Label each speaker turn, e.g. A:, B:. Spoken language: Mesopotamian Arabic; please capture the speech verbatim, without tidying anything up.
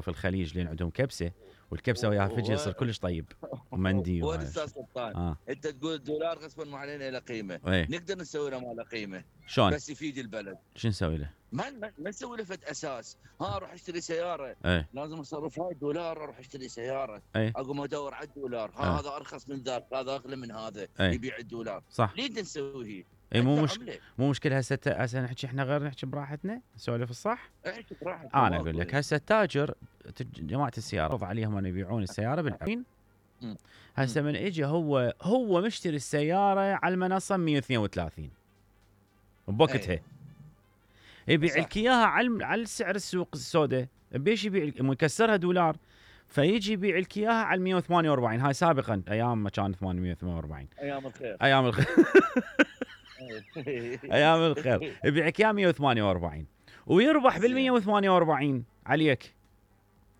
A: في الخليج لين عندهم كبسه، والكبسه وياها فجل يصير كلش طيب ومندي.
B: وين استاذ سلطان آه. انت تقول الدولار غصبا علينا له قيمه،
A: ايه؟
B: نقدر نسوي له ما له قيمه
A: شلون؟
B: بس يفيد البلد.
A: شو نسوي له؟
B: ما ما نسوي له فد اساس، ها اروح اشتري سياره
A: ايه؟
B: لازم اصرف هاي الدولار اروح اشتري سياره،
A: ايه؟
B: اقوم ادور على الدولار، ها
A: ايه؟
B: هذا ارخص من ذاك، هذا اغلى من هذا،
A: ايه؟
B: يبيع الدولار.
A: صح.
B: ليه نسوي هي؟
A: اي مو مشكله، مو مشكله. هسه هسه نحكي احنا غير نحكي براحتنا، نسولف الصح؟
B: احكي براحتنا.
A: انا اقول لك هسه التاجر جماعه السياره فرض عليهم ان يبيعون السياره بالعين. هسه من اجى هو هو مشتري السياره على المنصه مية واثنين وثلاثين بوقتها، ايه؟ يبيع لك اياها على على السعر السوق السوداء، بيش يبيع مكسرها دولار، فيجي يبيع لك اياها على مية وثمانية وأربعين. هاي سابقا ايام ما كان ثمانمية وثمانية وأربعين،
B: ايام الخير
A: ايام الخير ايام الخير. يبيع لك اياها مية وثمانية وأربعين ويربح بال مية وثمانية وأربعين عليك.